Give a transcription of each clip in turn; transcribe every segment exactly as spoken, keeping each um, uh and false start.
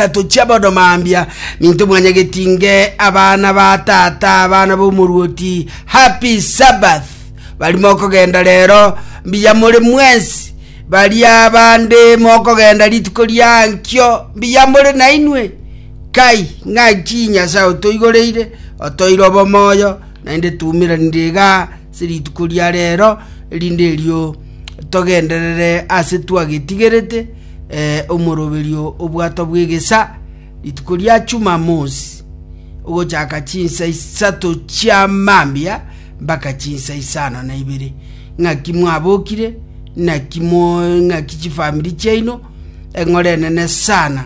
Isato chia bono mambia, minto mwanyagetinge, abana ba tata, abana b'omoruoti, happy Sabbath. Bari mokogenda rero, mbuya more mwensi. Baria bande mokogenda rituko ria nkio, mbuya more nainwe. Kai, ng'aki Nyasae otoigoreire, otoire obomoyo, naende tuumeranire iga ase rituko ria rero, erinde erio togenderere ase twagetigerete eh, omoroberio obwato bw'egesa rituko ria Jumamosi ogochaka chinsa isato chia mambia mpaka chinsa isano na ibere. Ng'aki mwabokire, naki mo ng'aki chifamiri chiaino, eng'ora enene sana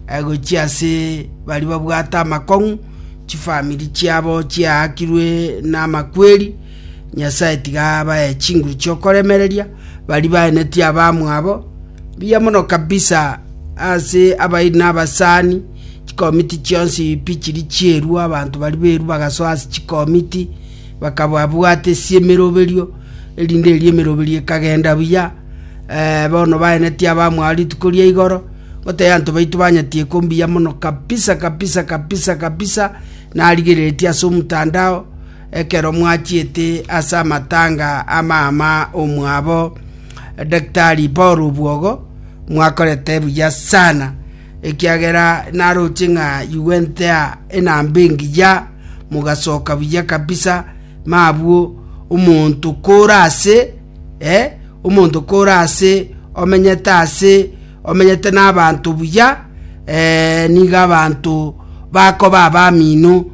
eh, gochia ase baria babwate amakong'u, chifamiri chiabo chiaakirwe na amakweri. Nyasae tiga abae chinguru chiokoremereria baria baenetie abamwabo mbuya mono kabisa ase abairi na abasani chikomiti chionsi pi chiri chierwa abanto baria berwa bagasoa ase chikomiti bakababwate ase emeroberio erinde eria emeroberio ekagenda buya eh, bono baenetie abamwabo rituko ria igoro gotebia abanto baito banyatieko mbuya mono kabisa kabisa kabisa kabisa narigereretie ase omotandao ekero mwachiete ase amatanga amama omwabo Daktari Paul Obwogo mwakorete buya sana ekiagera naroche ng'a you went there enamba engiya mogasoka buya kabisa mabwo omonto kore ase eh, omonto kore ase omenyete ase omenyete na abanto buya eh, nigo abanto bakoba abamino.